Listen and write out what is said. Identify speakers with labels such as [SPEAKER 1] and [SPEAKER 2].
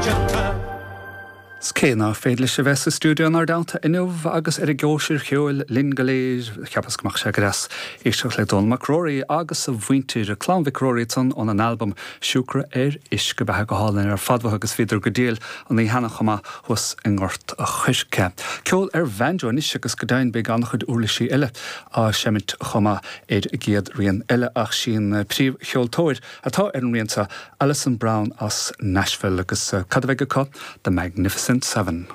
[SPEAKER 1] coitianta.
[SPEAKER 2] 'S cé ná féidir leis a bheith sa stiúideo inár dteannta inniu agus ar an gcóisir cheoil linn go léir, cheapas go mbeadh sé go deas éisteacht le Dónall Mac Ruairí agus a mhuintir, Clann Mhic Ruairí ansan óna n-albam Siúcra ar Uisce Beatha go hálainn ar fad uathu agus bhíodar go diail an oíche cheana chomh maith thuas i nGort a' Choirce. Ceol ar bhanjo anois agus go deimhin beidh an-chuid uirlisí eile á seimint chomh maith ar an gcéad rian eile ach sí an príomhcheoltóir atá ar an rian seo, Alison Brown as Nashville agus cad a bheidh acu? The Magnificent Seven.